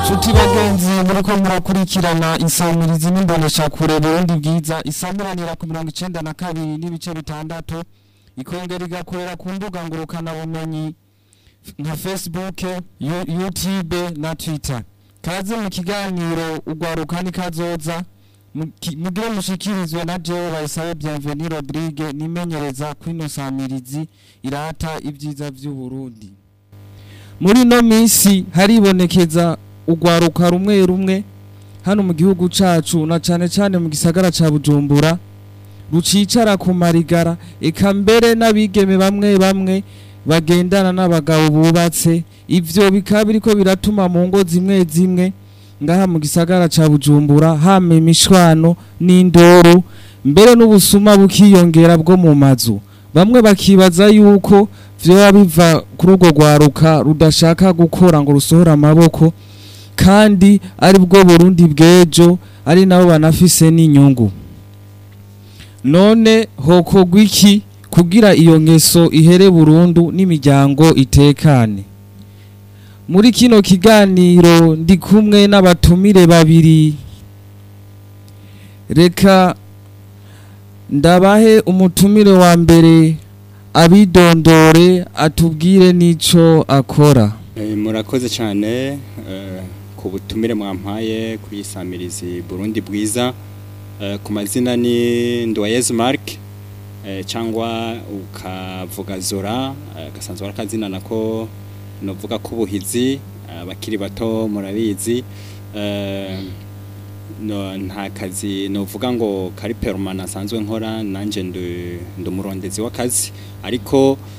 Nshuti bagenzi muriko murakurikirana insamirizi n'imboneshakure Burundi Bwiza isamiranira ku 92.6, ikongera igakorera ku mbuga ngurukana bumenyi nka Facebook, YouTube na Twitter. Kaze mu kiganiro Ugwaruka ni Kazoza, mugire mushikirizwe na jewe Bayisabe Bienvenue Rodrigue, nimenyereza kwino samirizi irata ibyiza vy'u Burundi. Muri no minsi haribonekeza ugwaruka rumwe rumwe hano mu gihugu cacu, na cane cane mu gisagara ca Bujumbura, rucicara ku marigara, eka mbere n'abigeme bamwe bamwe bagendana n'abagabo bubatse. Ivyo bikaba biriko biratuma mu ngo zimwe zimwe ngaha mu gisagara ca Bujumbura hama imishwano n'indoro, mbere n'ubusuma bukiyongera bwo mu mazu. Bamwe bakibaza yuko vyoba biva kuri urwo rwaruka rudashaka gukora ngo rusohore amaboko, kandi ari bwo Burundi bw'ejo, ari nabo banafise n'inyungu. None hokorwa iki kugira iyo ngeso ihere burundu n'imiryango itekane? Muri kino kiganiro ndi kumwe n'abatumire babiri. Reka ndabahe umutumire wa mbere abidondore, atubwire n'ico akora. Murakoze cyane ku butumire mwampaye kuri Isamirizi Burundi Bwiza. Ku mazina ni Nduwayezu Mark, cyangwa ukavuga Zora, gasanzwe ari akazina nako novuga k'ubuhizi, abakiri bato murabizi. No, nta kazi novuga ngo kari permanent asanzwe nkora, nanje ndi umurondezi w'akazi, ariko